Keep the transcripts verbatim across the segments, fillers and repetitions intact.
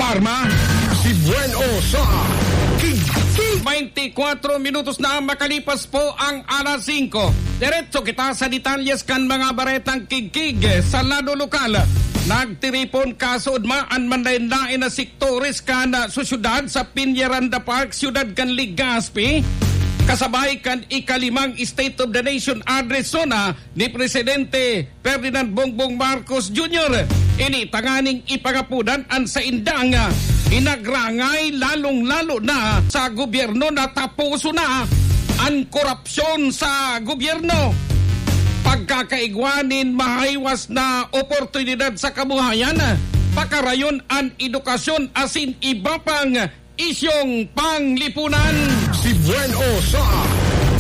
Arma, si Buen O sa Kigkig. Twenty-four minutos na makalipas po ang alas singko. Diretso kita sa detalyes kan mga baretang kigkig sa lado lokal. Nagtiripon kasood man an manlaen-laen na sektores kan, ah, sosyedad sa Peñaranda Park, siyudad kan Legazpi, kasabay kan ikalimang State of the Nation Address zona ni Presidente Ferdinand Bongbong Marcos Junior. Ini tanganing ipangapodan an saindang, ah, inagrangay, lalong-lalo na sa gobyerno na taposo na an korupsyon sa gobyerno. Pagkakaigwa nin mahaywas na oportunidad sa kabuhayan, pakarayon an edukasyon asin iba pang isyong panglipunan. Si Buen O sa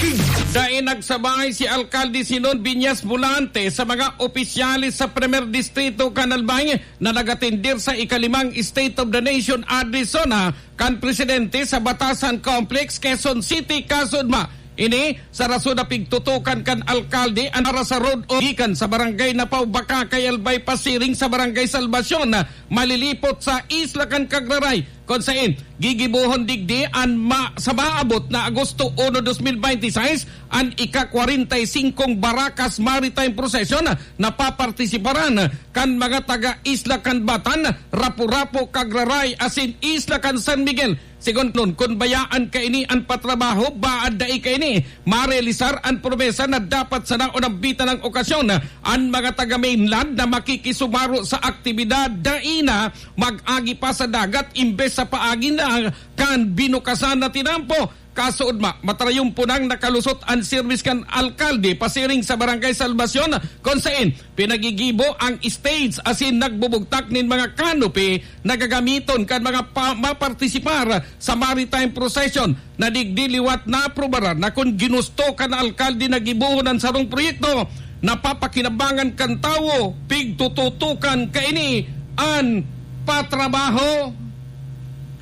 Kig- Dai nagsabay si Alkalde Sinon Viñas Volante sa mga opisyales sa Primer Distrito kan Albay na nag-atendir sa ikalimang State of the Nation Address zona kan Presidente sa Batasan Complex, Quezon City, kasood man. Ini sa rason na pigtutukan kan alkalde an para sa road o gikan sa Barangay Napaw, Bacacay, Albay, pasiring sa Barangay Salvacion, malilipot sa Isla kan Cagraray, kun saen gigibohon digdi an ma-, sa maabot na Agosto uno, dos mil binte y seis, an ika-kwarenta y singkong Baracas Maritime Procession na papartisiparan kan mga taga Isla Canbatan, Rapu-Rapu, Cagraray asin Isla kan San Miguel. Segun nun, kun bayaan kaini an patrabaho, baad dai kaini marealisar an promesa na dapat sana o nambitan ng okasyon an mga taga-mainland na makikisumaro sa aktibidad, dai na mag-agi pa sa dagat imbes sa paagi na kan binukasan na tinampo. Kasood man, matrayon po nang nakalusot an serbis kan alkalde pasiring sa Barangay Salvacion, kun saen pinagigibo ang stage asin nagbubugtak nin mga canopy na gagamiton kan mga pa-, mapartisipar sa maritime procession na digdi liwat naaprubaran na kun ginusto kan alkalde na gibohon an sarong proyekto, napapakinabangan kan tawo, pigtututukan kaini an patrabaho.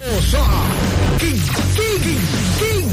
O sa Kig, Kig, Kig.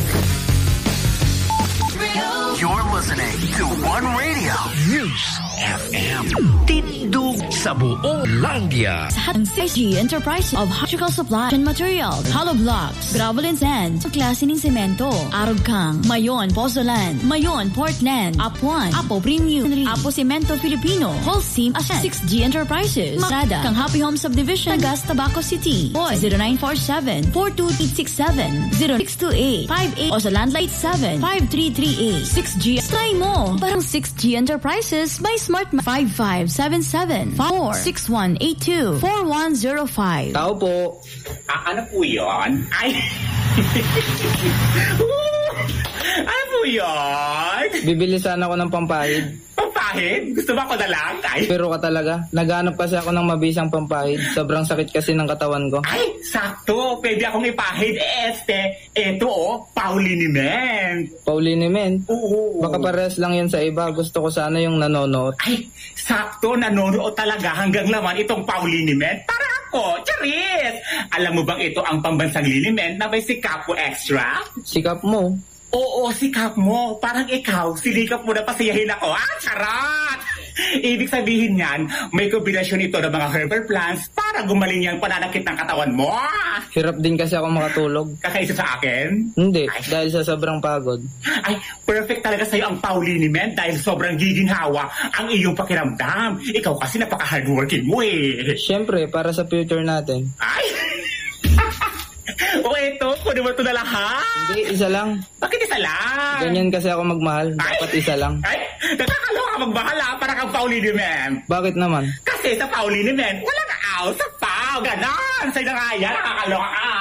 You're listening to One Radio News F M. Tindog sa buong Landia. Sa Hatang C G Enterprise of Electrical Supply and Materials, hollow blocks, gravel and sand, klase nin semento, arog kang, Mayon, Pozzolan, Mayon, Portland, Apuan, Apo Premium, Apo Semento Filipino, Holcim Ascent, six G Enterprises, Masada, kang Happy Home Subdivision, Tagas, Tabaco City. Boy, zero nine four seven, four two eight six seven, zero six two eight, five eight, o sa landline seven five three three eight. Six G, try mo! Parang six G Enterprises by Smart Ma-, five five seven seven, four six one eight two, four one zero five. Tao po. Ah, ano po yun? Ay! Ano po yun? Bibili sana ako ng pampahid. Pampahid? Gusto mo ako na lang? Ay. Pero ka talaga. Naghahanap kasi ako ng mabisang pampahid. Sobrang sakit kasi ng katawan ko. Ay, sakto. Pwede akong ipahid. Eh, este, eto oh, Pauliniment. Pauliniment? Oo. Baka parehas lang yan sa iba. Gusto ko sana yung nanonoot. Ay, sakto. Nanonood talaga hanggang laman itong Pauliniment. Para ako. Charis! Alam mo bang ito ang pambansang liniment na may Sikapo Extra? Sikap mo. Oo, sikap mo. Parang ikaw, sinikap mo na pasiyahin ako. Ah, charot! Ibig sabihin niyan, may kombinasyon ito ng mga herbal plants para gumaling yung pananakit ng katawan mo. Hirap din kasi ako makatulog. Kakaisa sa akin? Hindi, Ay. dahil sa sobrang pagod. Ay, perfect talaga sa'yo ang Pauliniment dahil sobrang giginhawa ang iyong pakiramdam. Ikaw kasi napaka-hardworking mo eh. Siyempre, para sa future natin. Ay! O eto, kunin mo ito na lahat. Hindi, isa lang. Bakit isa lang? Ganyan kasi ako magmahal. Ay! Dapat isa lang. Ay! Nakakaloka magmahal, ah, para kang Pauliniment. Bakit naman? Kasi sa Pauliniment, walang aw sa pau. Ganon! Sa'yo na nga yan, nakakaloka ka.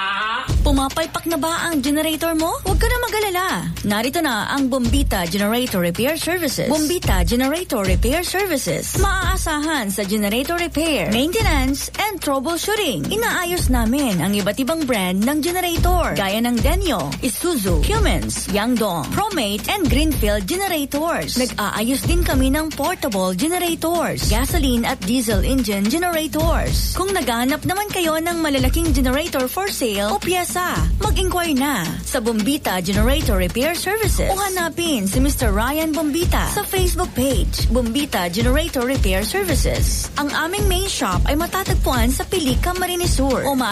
Pumapalpak na ba ang generator mo? Huwag ka na mag-alala. Narito na ang Bombita Generator Repair Services. Bombita Generator Repair Services. Maaasahan sa generator repair, maintenance, and troubleshooting. Inaayos namin ang iba't ibang brand ng generator, gaya ng Denyo, Isuzu, Cummins, Yangdong, Promate, and Greenfield generators. Nag-aayos din kami ng portable generators, gasoline at diesel engine generators. Kung naghahanap naman kayo ng malalaking generator for sale o pyesa, mag-inquire na sa Bombita Generator Repair Services o hanapin si Mister Ryan Bombita sa Facebook page, Bombita Generator Repair Services. Ang aming main shop ay matatagpuan sa Pilica, Marinesur, o maaari